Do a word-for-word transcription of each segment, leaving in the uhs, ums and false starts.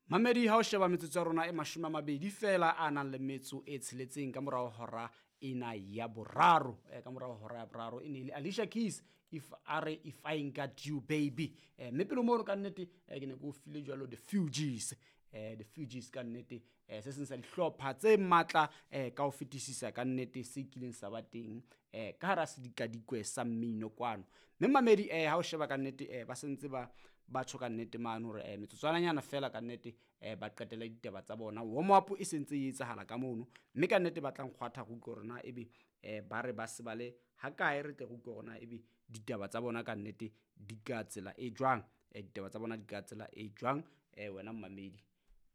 Mamedi, ha o sheba metsotso ya rona e mashome a mabedi fela a nang le metso e tsheletseng ka morao hora ena ya boraro. Eh, ka morao hora ya boraro e ne e le Alicia Keys, if a re "If I Ain't Got You Baby". Eh, mme pele mono ka nnete eh, ke ne ke o file jwalo The Fugees. eh, The Fugees ka nnete eh, se seng sa dihlopha tse matla eh, ka ho fetisisa ka nnete se kileng sa ba teng eh, ka hara sedikadikwe sa mmino kwano. Mme mamedi, eh, ha o sheba ka nnete eh, ba sentse ba ba tjho ka nnete mane hore eh, metsotswananyana fela ka nnete eh, ba qetele ditaba tsa bona. Warm up e sentse e etsahala ka mono, mme ka nnete ba tla nkgwatha re utlwe hore na ebe eh, ba re ba se ba le ha kae, re tle re utlwe hore na ebe ditaba tsa bona ka nnete di ka tsela e jwang. eh, ditaba tsa bona di ka tsela e jwang, eh, wena mmamedi,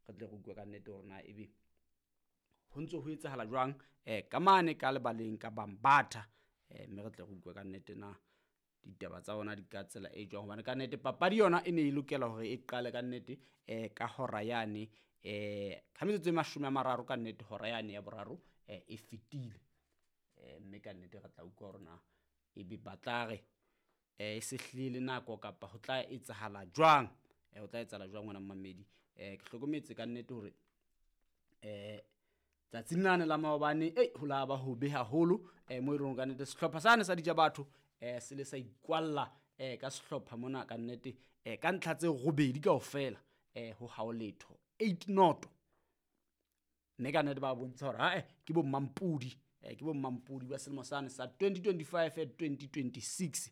re tle re utlwe ka nnete hore na ebe ho ntso ho etsahala jwang eh, ka mane ka lebaleng ka Bambatha. eh, mme re tle re utlwe ka nnete na ditaba tsa bona di ka tsela e jwang, hobane ka nnete papadi yona e ne e lokela hore e qale ka nnete eh, ka hora yane eh, ka metsotso e mashome a mararo ka nnete hora yane ya boraro eh, e fetile. eh, mme ka nnete re tla utlwa hore na ebe ba tla re eh, e se hlile nako kapa ho tla etsahala jwang. eh, ho tla etsahala jwang wena mmamedi. eh, ke hlokometse ka nnete hore eh, tsatsing lane la maobane ei ho la ba hobe haholo eh, mo e leng ka nnete sehlopha sane sa dija batho eh, se le sa ikwalla eh, ka sehlopha mona ka nnete eh, ka ntlha tse robedi kaofela eh, ho hao letho eight noto. Mme ka nnete ba bontsha hore ae ke bo mmampudi eh, ke bo mmampudi ba selemo sane sa twenty twenty-five twenty twenty-six.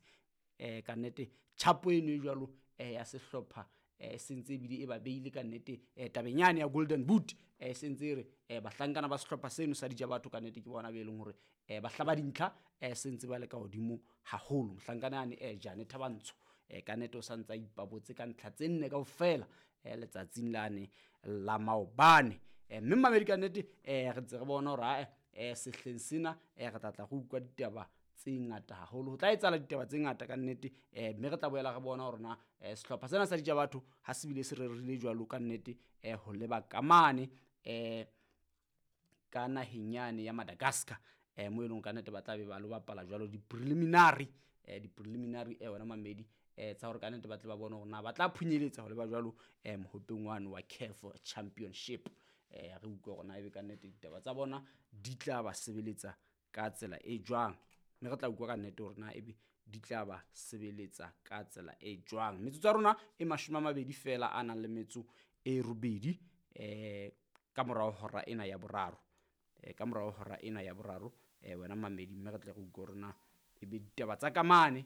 eh, ka nnete tjhapo eno e jwalo eh, ya sehlopha eh, sentse ebile e ba beile ka nnete eh, tabeng yane ya Golden Boot. eh, sentse e re eh, bahlankana ba sehlopha seno sa dija batho ka nnete ke bona be leng hore eh, ba hlaba dintlha eh, sentse ba le ka hodimo haholo. Mohlankana yane eh, Jane Thabantsho eh, ka nnete o sa ntse a ipabotse ka ntlha tse nne kaofela eh, letsatsing lane la maobane. eh, mme mmamedi ka nnete eh, re ntse re bona hore ae eh, sehleng sena eh, re tla tla re utlwa ditaba tse ngata haholo, ho tla etsahala ditaba tse ngata ka nnete. eh, mme re tla boela re bona hore na eh, sehlopha sena sa dija batho ha se bile se rerile jwalo ka nnete eh, ho leba kamane eh, ka naheng yane ya Madagascar eh, mo e leng ka nnete ba tla be ba lo bapala jwalo di-preliminary eh, di-preliminary eh, wena mamedi eh, tsa hore ka nnete ba tle ba bone hore na ba tla phunyeletsa ho leba jwalo eh, mohopeng wane wa C A F Championship. eh, re utlwe hore na ebe ka nnete ditaba tsa bona di tla ba sebeletsa ka tsela e jwang, mme re tla utlwa ka nnete hore na ebe di tla ba sebeletsa ka tsela e jwang. Metsotso ya rona e mashome a mabedi fela a nang le metso e robedi eh, ka morao hora ena ya boraro eh, ka morao hora ena ya boraro eh, wena mamedi, mme re tle re utlwe hore na ebe ditaba tsa kamane